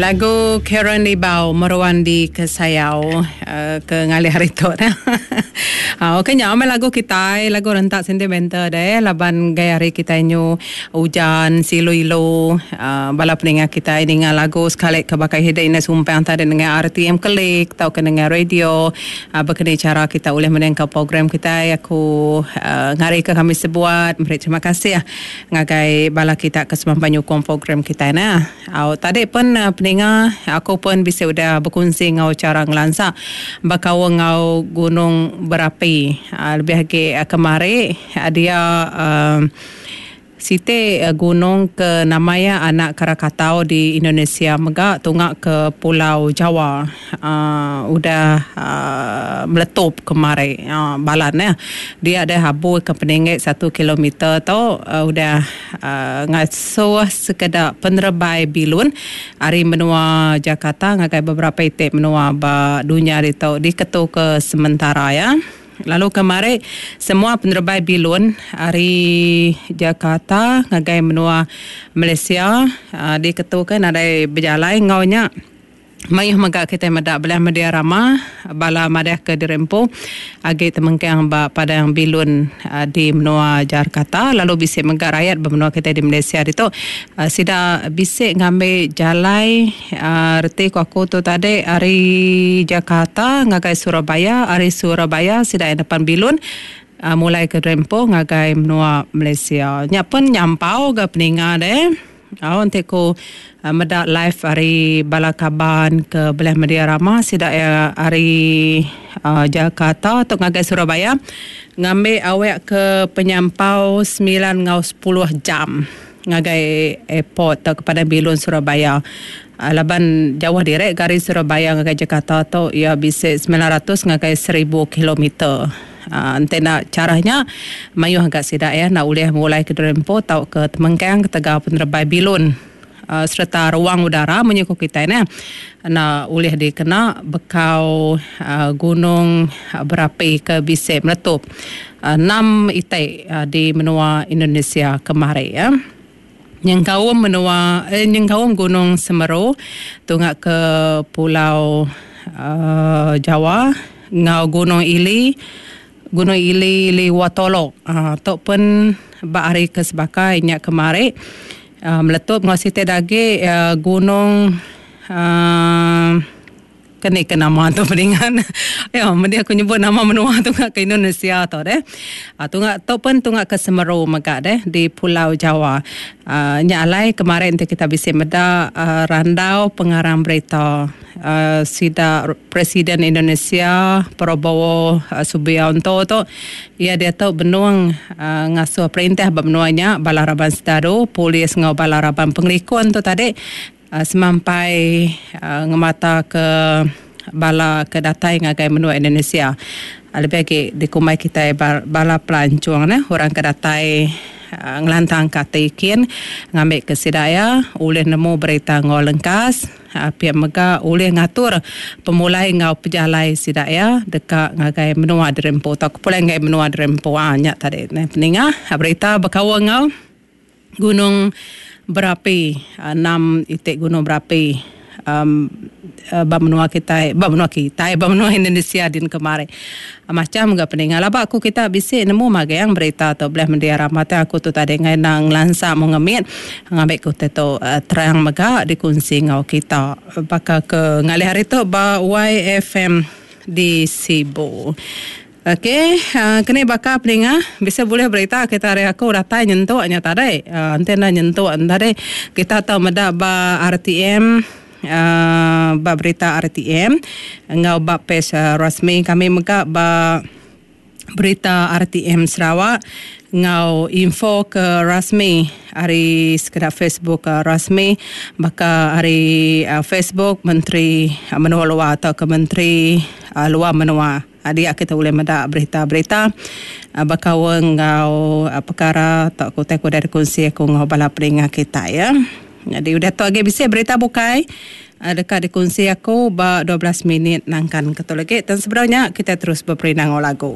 Lagu Karen Libau meruan di kesayau ke ngalih hari tu neh. Ok nya meh lagu kitai lagu rentak sentimental deh laban gaya hari kitai nyu ujan silu ilu bala peninga kitai ninga lagu sekali ke baka ida indai sumpang tadi nengah RTM klik tauka nengah radio baka ni chara kita ulih mendingka program kitai aku ngarika kami sebuat meri terima kasih ngagai bala kita ke semampai nyukung program kitai neh. Au tadi pen peninga aku pen bisi udah bekunsi enggau chara ngelansa bekaul enggau gunung berapi lebih agi kemari dia uhh siti gunung ke nama iya Anak Krakatau di Indonesia mega tunga ke Pulau Jawa uhh udah uhh meletup kemari balan ne dia deh abu ke peninggi satu kilometer tu udah Ngasuh sekeda penerebai bilun ari menua Jakarta ngagai beberapa iti menua ba dunya ditu diketuka sementara iya. Lalu kemari semua penerebai bilun ari Jakarta ngagai menua Malaysia diketuka nadai bejalai enggau nya. Mayuh mega kitai meda belah media rama bala madah ke diri empu agi temengkang ba padang bilun di menua Jakarta lalu bisi mega rayat ba menua kitai di Malaysia ditu sida bisi ngambi jalai reti ku aku tu tadi ari Jakarta ngagai Surabaya ari Surabaya sida iya nepan bilun mulai ke diri empu ngagai menua Malaysia. Nya pun nyampau ga peninga deh. Au enti ku meda live ari bala kaban ke beleh media rama sida iya ari Jakarta tu ngagai Surabaya ngambi awek ke penyampau semilan enggau sepuluh jam ngagai airport tauka padang bilun Surabaya laban jauh diri ga ari Surabaya ngagai Jakarta tu iya bisi 900 ngagai seribu kilometer. Enti enda chara nya, mayuh ga sida iya enda ulih ngulai ke diri empu tauka temengkang ketegal penerebai bilun sereta ruang udara munyi ku kitai neh enda ulih dikena bekau gunung berapi ke bisi meletup enam iti di menua Indonesia kemari. Nyengkaum menua nyengkaum Gunung Semeru tunga ke Pulau Jawa enggau Gunung Ili Gunung Ili Liwatolok uhh tu pen ba hari ke sebaka inya kemari uhh meletup enggau siti da agi gunung uhh. Ke ni ke nama tu peningan. Ya, mending aku nyebut nama menua tu ngak ke Indonesia tu deh. Ah tunga tu pun tunga ke Semeru mega deh di Pulau Jawa. Ah nya alai kemarin ti kita bisi meda ah randau pengarang berita ah sida Presiden Indonesia Prabowo Subianto tu iya diatu benung ah ngasuh perintah ba menua nya bala raban sedadu, polis enggau bala raban pengelikun tu tadi Semampai ngemata ke bala ke datai ngagai menua Indonesia. Lebih agi dikumbai kitai bala pelancong neh orang ke datai ngelantang ke ati kin ngambi ke sida iya ulih nemu berita enggau lengkas pia mega ulih ngatur pemulai enggau pejalai sida iya deka ngagai menua diri empu tauka pulai ngagai menua diri empu. Nya tadi neh peninga berita bekaul enggau. Gunung berapi enam iti gunung berapi um ba menua kitai ba menua kitai ba menua Indonesia din kemari. Macham ga peninga laba aku kita bisi nemu magang berita tu beleh mending rama te aku tu tadi enggai enda ngelansa mung ngemit ngambi ke utai tu terang mega dikunsi enggau kita baka ke ngalih hari tu ba YFM di Sibu. Ok keni baka peninga bisi bulih berita kita ari aku datai nyentuk nya tadi enti enda nyentuk tadi kita tau meda ba RTM uhh ba berita RTM enggau ba page rasmi kami mega ba berita RTM Sarawak enggau info ke rasmi ari sekeda Facebook rasmi baka ari Facebook Menteri Menua Luar tauka Menteri Luar Menua. Dia kita ulih meda berita-berita bekaul enggau pekara tauka utai ke udah dikunsi aku enggau bala peninga kitai. Nyadi udah tu agi bisi berita bukai deka dikunsi aku ba 12 minit nangkan ke tu lagi. Tang sebedau nya kitai terus beperindang enggau lagu.